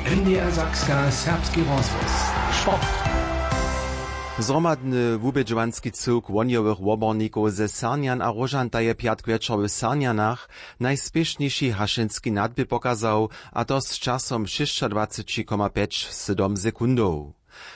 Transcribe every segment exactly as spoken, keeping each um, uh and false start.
N D R Sakska, serbski rozhłos. Sport. Zhromadny wubědźowanski cyłk wohnjowych wobornikow ze Sarnjan a Róžanta je pjatk wječor w Sarnjanach najspěšnjejši hašenski nadběh pokazał, a to z časom šěsćadwaceći koma pjeć sydom sekundow.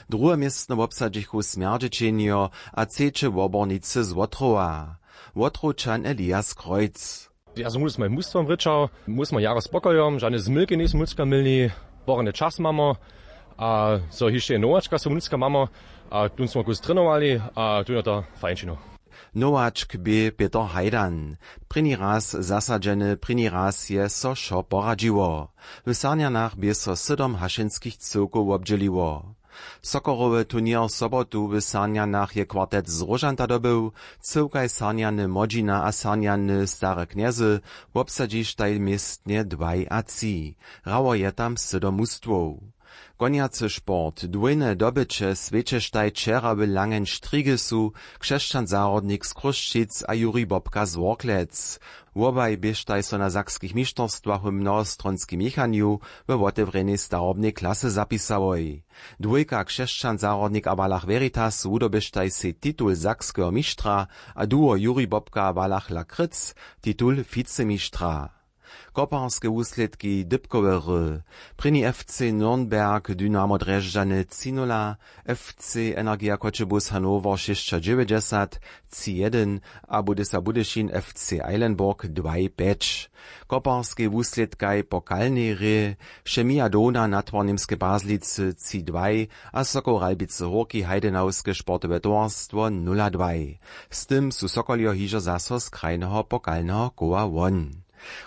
Druhe městno wobsadźichu Smjerdźećenjo a třeće wobornicy z Wotrowa. Wotrowčan Elias Kreuz. Ja som z mojim mustwom rěčał, mój smy jara spokojom, žane zmylki njejsmy nutřka měli, porjadny čas mamy, a zo hišće je nowačka smy nutřka mamy, a tón smy kus trenowali, a tón je to fajn činił. Nowačk bě Pětr Hajdan. Prěni raz zasadźeny, prěni raz je so wšo poradźiło. W Sarnjanach bě so sydom hašenskich cyłkow wobdźěliło. Sokorowy turněr sobotu w Sarnjanach je kwartet z Róžanta dobył. Cyłkaj Sarnjany Młodźina a Sarnjany Stare Knjezy wobsadźištaj městnje dwaj a tři. Hrało je tam sydom mustwow. Konjacy sport. Dwójne dobyće swjećeštaj wčera w Langenstrigisu, křesćan zahrodnik z Chrósćic a Juri Bobka z Worklec. Wobaj běštaj so na sakskich mišterstwach w mnohostronskim měchanju we wotewrjenej starobnej klasy zapisałoj. Dwójka křesćan zahrodnik a Wallach Veritas wudoběštaj sej titul sakskeho mištra a duo Juri Bobka a Wallach Lakryc titul wicemištra. Koparske wuslědki dypkowe hry. Prěni F C Nürnberg Dynamo Drježdźany tři nula, F C Energija Choćebuz Hannover šěsćadźewjećdźesat tři jedyn a Budysa Budyšin F C Eilenburg dwaj pjeć. Koparskej wuslědkaj pokalnej hrě Chemia Dona Natwar Němske Pazlicy tři dwaj a Sokol Ralbicy Hórki Heidenauske sportowe towarstwo nula dwaj. Z tym su Sokoljo hižo zaso z krajneho pokalneho koła won.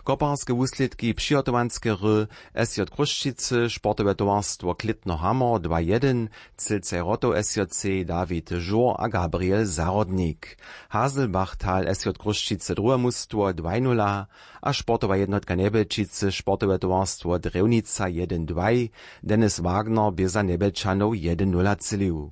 Koparske wuslědki přihotowanske hry S J Chrósćicy, sportowe towarstwo Klětno Hamor dwa jedyn, Cylcaj Rotow S J C Dawid Žur a Gabriel Zahrodnik. Haselbachtal S J Chrósćicy druhe mustwo dwaj nula a sportowa jednotka Njebjelčicy sportowe towarstwo Drjewnica jedyn dwaj, Dennis Wagner bě za Njebjelčanow jedyn nula třělił.